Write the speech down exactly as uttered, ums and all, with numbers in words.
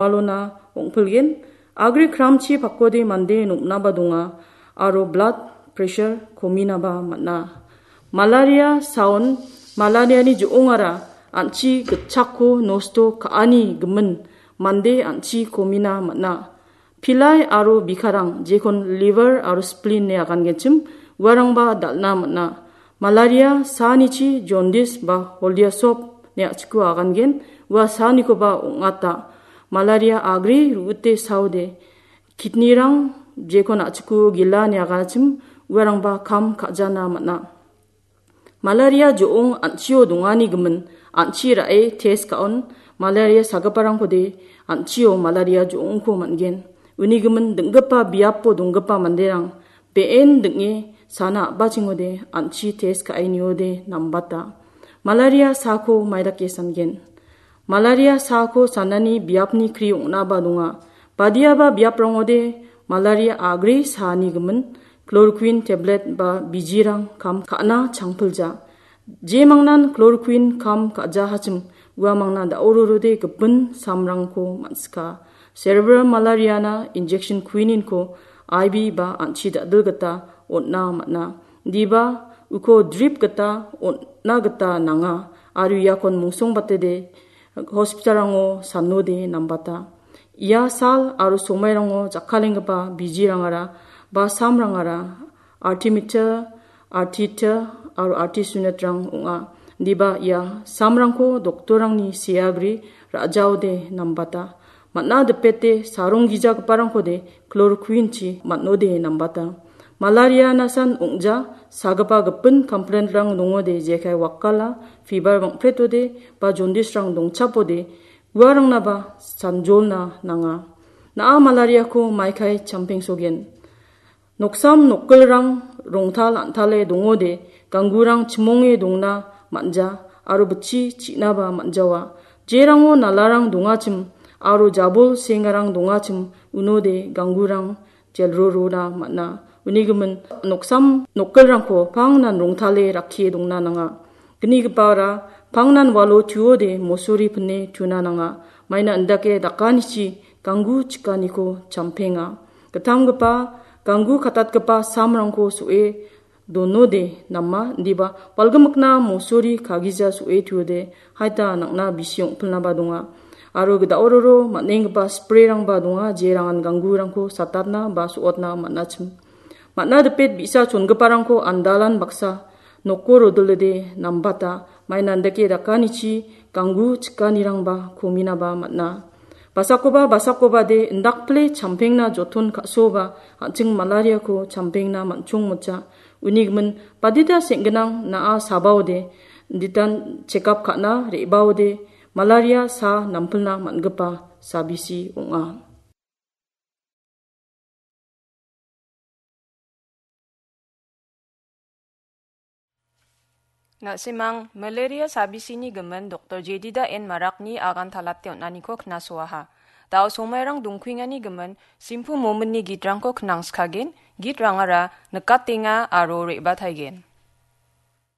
walona ong·pilgen. Agri kramchi pakode mande nom·naba donga aro blood pressure kominaba man·a. Malaria saon malariani jo·ongara an·chi gitchakko nosto ka·ani gimin mande an·chi komina man·a. Pilai aro bikarang, jekon liver aro spleen ine agangenchim, uarangba dal·na man·a. Malaria saanichi jondis ba holiasop ine a·chiko agangen, ua saanikoba ong·ata. Malaria agri ru·ite saode, kidnirang jekon a·chiko gila ine aganachim, uarangba kam ka·jana man·a. Malaria jo·ong an·chio dongani gimin an·chi ra·e test ka·on, malaria sagiparangkode an·chio malaria jo·ongko man·gen. Uni gimin dinggipa biapo donggipa manderang be·en ding·e sana a·bachengode an·chi test ka·e niode nambata. Malaria saako maidake sangen. Malaria saako sanani biapni kri ong·naba donga. Badiaba biaprangode malaria agri saani gimin chloroquine tablet ba bijirang kam ka·na changpilja. Jemangnan chloroquine kam ka·jahachim, uamangna da·ororode gipin samrangko man·sika. Cerebral malariana injection quinine-ko I V ba an·chi da·dil gita on·na man·a. Diba uko drip gita on·na gita nanga, aro iakon mungsongbatede hospitalrango sanode nambata. Ia sal aro somairango jakkalenggipa bijirangara ba samrangara artimeter, artiter aro artisunetrang ong·a. Diba ia samrangko doktorrangni seagri ra·jaode nambata. Man·a dipete saronggijagiparangkode chloroquine-chi man·ode nambata. Malaria nasan ong·ja sagipa gipin complaint-rang dongode, jekai wakala, fever bang·pretode ba jondisrang dongchapode, uarangnaba sanjolna nanga. Na·a malariako maikai champengsogen. Noksam nokgilrang rongtal an·tale dongode, ganggurang chimonge dongna man·ja aro bitchi chi·naba man·jawa. Jerango nalarang dongachim aro jabol sengarang dongachim unode ganggurang jelrorona man·a. Uni gimin noksam nokgilrangko pangnan rongtale rakkie dongna nanga. Gnigipara pangnan walo tuode mosori pine tuna nanga. Maina indake dakanichi ganggu chikaniko champenga. Gittamgipa, ganggu katatgipa samrangko so·e donode nama, indiba walgimikna mosori kagija so·e tuode haita nang·na bisi ong·pilnaba donga. Aro gita ororo man·enggipa spray-rangba donga, jerangan ganggurangko satatna ba so·otna man·achim. Man·a dipet bi·sa chongiparangko andalan baksa noko rodilode nambata, maina indake dakanichi ganggu chikanirangba kominaba man·a. Basakoba, basakobade indakpile champengna joton ka·soba an·ching malariako champengna man·chongmotja. Uni gimin badita seng·ginang na·a sabaode, inditan chekap ka·na re·baode, malaria sa nampilna man·gipa sabisi ong·a. Na·simang malaria sabisini gimin Doktor Jedida N Marakni agan talate on·aniko knasoaha. Da·o somairang dongkuengani gimin simpu mominni gitrangko knangskagen, gitrangara nikatenga aro re·bataigen.